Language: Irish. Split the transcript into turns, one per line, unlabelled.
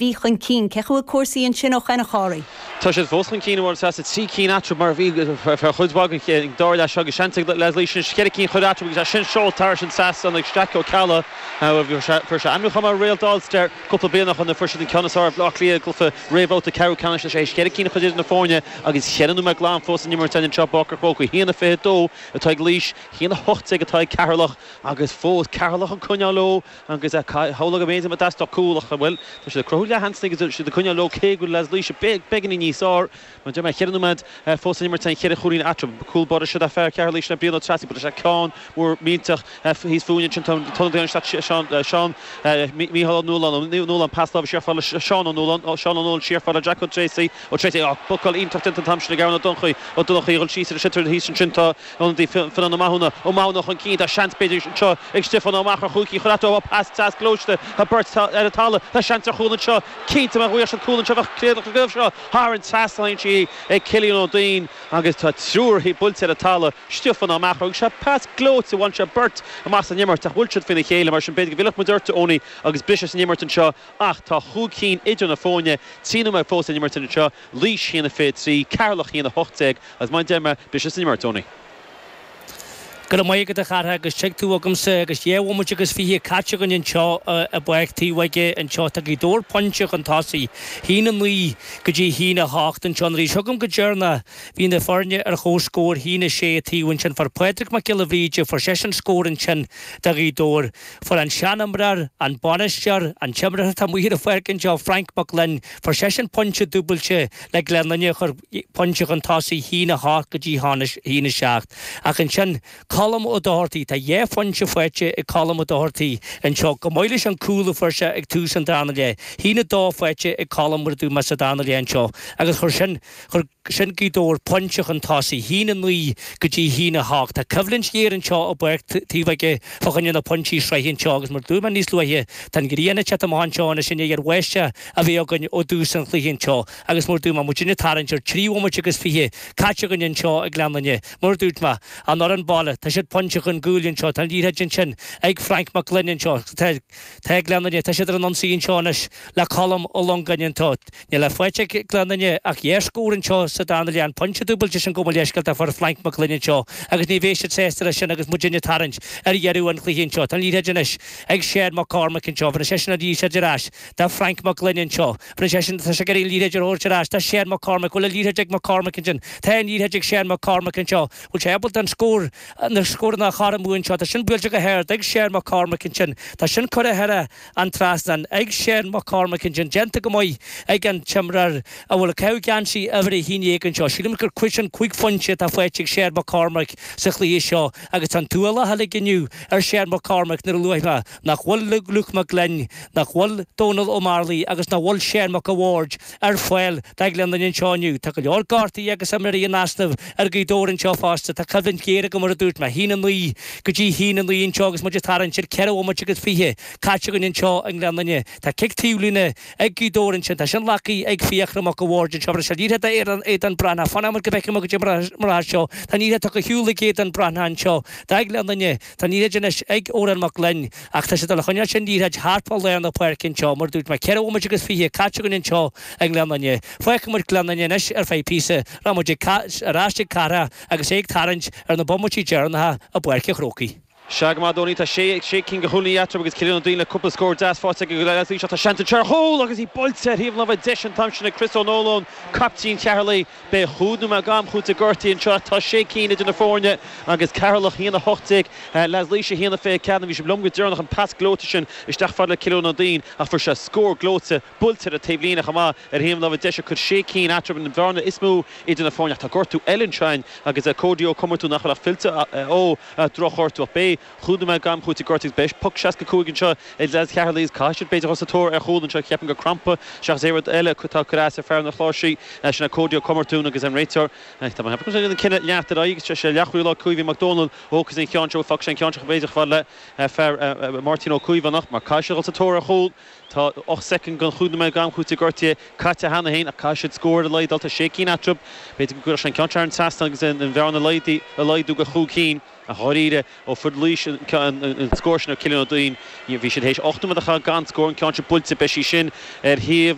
Bhí chun cinn. Cén chaoi a bhfuil cúrsaí ansin ó shoin, a Chárthaigh?
Tá siad fós chun cinn, a Mháire Treasa, 3 cinn eatarthu mar a bhí ar feadh chuid mhaith den dara leath seo agus seans ag leaids Laoise anois cheithre cinn a chur eatarthu agus é sin seolta thairis an trasnán ag Jack Ó Ceallaigh. Fuair sé ainmniúchán mar réalt All-Star cúpla bliain ó shoin nuair a fuair siad an ceann is fearr ar Bhaile Átha Cliath i gcluiche réamhbhabhta ceathrú ceannais leis é cheithre cinn a chur idir na foirne agus cheithre nóiméad glan fós san imirt anseo i bPáirc an Chrócaigh. 1-22 atá ag Laois, 1-18 atá ag Ceatharlach agus fós Ceatharlach ag coinneáil leo. Agus shamhlófá go mb'fhéidir go dteastódh cúl ach, bhuel, tá siad ag cruthú leathsheansanna agus tá siad ag coinneáil leo cé go bhfuil leaids Laoise beagáinín níos fearr. Mar a deir mé, cheithre nóiméad fós san imirt, an cheithre chúilín eatarthu. Cúl báire seo fear Cheatharlaigh sin é Brian Ó Treasaigh, buail sé ceann mór millteach thíos fúinn ansin. Tá an t-ionadaí isteach, Seán, Seán, Mícheál Ó Nualláin, Ó Nualláin, pas láimhe siar fad le Seán Ó Nualláin, Seán Ó Nualláin siar fad le Jack Ó Treasaigh, Ó Treasaigh, á, bocáil iontach déanta an t-am sin ag Aaron Ó Donnchaidh, Ó Donnchaidh a dhul síos ar an sliotar thíos ansin tá Ionadaí Fionán Ó Mathúna, Ó Mathúna chun cinn, tá seans b'fhéidir anseo ag Stiofán Ó Meachair chúig cinn chun eatarthu, pas deas gluaiste, tá beirt ar an talamh, tá seans ar chúl anseo, cinnte má bhuaigh siad cúl anseo bheadh críoch leis an gcraobh seo thar an trasnán sí ag Cillian Ó Duinn agus tá triúr buailte ar an talamh, Stiofán Ó Meachair agus sé pas gleoite, bhain sé beirt amach as an imirt ach bhuail siad faoina chéile mar sin b'fhéidir go bhfillfeadh muid ort Tony agus briseadh san imirt anseo ach tá chúig cinn idir na foirne, 3 nóiméad fós san imirt anseo. Laois 1-23, Ceatharlach 1-18 agus mar a deir mé, briseadh san imirt, Tony.
Go raibh maith agat a Chárthaigh agus tig tú agamsa agus dhá bhomaite agus 20 caite againn anseo i bPáirc Taobh Aige anseo. Tá Gaoth Dobhair pointe chun tosaigh, 1-9 go dtí 1-8 anseo. Nuair a bhí seo agam go deireanach bhí na foirne ar chomhscór, 1-6 taobh ansin. Fuair Pádraig Mac Giolla Bhríde, fuair seisean scór ansin do Ghaoth Dobhair. Fuair an seanimreoir, an bainisteoir, an t-imreoir atá amuigh ar an pháirc anseo, Frank Mac Gloinn, Fuair seisean pointe dúbailte le Gleann Fhinne a chuir pointe chun tosaigh, 1-8 go dtí 1-7. Ach ansin, Colm Ó Dochartaigh, tá dhá phointe faighte ag Colm Ó Dochartaigh anseo, chomh maith leis an cúl a fuair sé ag tús an darna leath. 1-2 faighte ag Colm mar a dúirt mé sa darna leath anseo agus chuir sin, chuir sin Gaoth Dobhair pointe chun tosaigh, 1-9 go dtí 1-8. Tá coimhlint ghéar anseo i bPáirc Taobh Aige fá choinne na pointí sraithe anseo agus mar a dúirt mé níos luaithe, tá an ghrian ag teacht amach anseo anois i ndiaidh ar bháisteach a bheith againn ó dtús an chluiche anseo agus mar a dúirt mé, muidinne ag tarraingt ar 3 bhomaite agus 20 caite againn anseo i nGleann Fhinne. Mar a dúirt mé, an fhoireann baile, tá siad pointe chun cúil anseo, tá an liathróid ansin ag Frank Mac Gloinn anseo, tá, tá Gleann Fhinne, tá siad ar an ionsaí anseo anois le Colm Ó Longáin anseo. Níl faighte ag Gleann Fhinne ach dhá scór anseo sa darna leath, an pointe dúbailte sin gabh mo leithscéal a fuair Frank Mac Gloinn anseo agus ní bheidh siad sásta leis sin agus muidinne ag tarraingt ar dheireadh an chluiche anseo. Tá an liathróid anois ag Seán Mac Cormaic anseo. Bhronn seisean an liathróid ar ais do Frank Mac Gloinn anseo. Bhronn seisean, tá sé ag iarraidh an liathróid a thabhairt ar ais do Seán Mac Cormaic. Bhfuil an liathróid ag Mac Cormaic ansin? Tá an liathróid ag Seán Mac Cormaic anseo. Bhfuil sé ábalta an scór, na scóranna a chothromú anseo? Tá sin buailte go hard ag Seán Mac Cormaic ansin. Tá sin curtha thar an trasnán ag Seán Mac Cormaic ansin, déanta go maith ag an t-imreoir a bhfuil ag caitheamh geansaí uimhir 11 anseo. Sílim gur sin 5 phointe atá faighte ag Seán Mac Cormaic sa chluiche seo agus tá an t-ualach uilig inniu ar Seán Mac Cormaic nuair a luaigh mé nach bhfuil Luke Mac Gloinn, nach bhfuil Dónal Ó Mearlaí agus nach bhfuil Seán Mac a' Bhaird ar fáil do Ghleann Fhinne anseo inniu. Tá go leor gortaithe agus imreoirí in easnamh ar Ghaoth Dobhair anseo fosta. Tá coimhlint ghéar agam mar a dúirt mé. 1-9 go dtí 1-9 anseo agus muid ag tarraingt ar 4 bhomaite agus 20 caite againn anseo i nGleann Fhinne. Tá cic taobhlíne ag Gaoth Dobhair ansin. Tá sin glactha ag Fiachra Mac a' Bhaird anseo. Bhris sé liathróid do Aodán Breathnach. Fanfaidh muid go bhfeicfidh muid goidé mar atá seo. Tá an liathróid tugtha ar shiúl ag Aodán Breathnach anseo do Ghleann Fhinne. Tá an liathróid anois ag Odhrán Mac Gloinn ach tá sé ag dul a choinneáil sin liathróid thart fá lár na páirce anseo. Mar a dúirt mé, 4 bhomaite agus 20 caite againn anseo i nGleann Fhinne. Fágfaidh muid Gleann Fhinne anois ar feadh píosa. Rachaidh muid ag ar ais ag Cárthach agus é ag tarraingt ar na bomaití deireanacha i bPáirc an Chrócaigh.
Sea go maith Tony, tá sé sé cinn de chúilíní eatarthu agus Cillian Ó Duinn le cúpla scór deas faighte aige do leaids Laois ach tá seans anseo ar chúl agus í buailte ar thaobh na láimhe deise an t-am sin ag Chris Ó Nualláin, caiptín Cheatharlaigh. Beidh chúig nóiméad d'am cúitimh gortaithe anseo. Tá sé cinn idir na foirne agus Ceatharlach 1-18, leaids Laoise 1-24. Bhí sibh liom go deireanach an pas gleoite sin isteach fad le Cillian Ó Duinn ach fuair sé scór gleoite buailte ar an taobhlíne chomh maith ar thaobh na láimhe deise. Cuir sé cinn eatarthu an bhearna is mó idir na foirne ach tá gortú eile anseo agus Cody Ó Comartúin nach bhfuil ach fillte ó dhrochghortú ach beidh Chúig nóiméad d'am cúitimh gortaithe agus beidh poc 65 anseo ag leaids Cheatharlaigh agus caithfidh siad b'fhéidir dul sa tóir ar chúl anseo. Ceapaim gur crampa seachas aon rud eile atá ag cur as ar fear na cláirsí. Sin é Cody Ó Comartúin agus an réiteoir. Tá mé ag ceapadh an cinneadh leanacht ar aghaidh agus sé leathchúlaí Caoimhín Mac Dónaill a thógfas an ceann seo. Fágfaidh sé an ceann seo b'fhéidir chomh fada le fear Máirtín Ó Caomhánach mar caithfidh siad dul sa tóir ar chúl. Tá 8 soicind den chúig nóiméad d'am cúitimh gortaithe caite cheana féin ach caithfidh siad scór ar a laghad. Tá sé cinn eatarthu. B'fhéidir go gcuirfeadh sé an ceann seo thar an trasnán agus an bhearna a laghdú go chúig cinn. Ach dháiríre, ó fuair Laois an scór sin ar Cillian Ó Duinn, bhí siad théis 8 nóiméad a chaitheamh gan scór, an ceann seo buailte, beidh sí sin ar thaobh.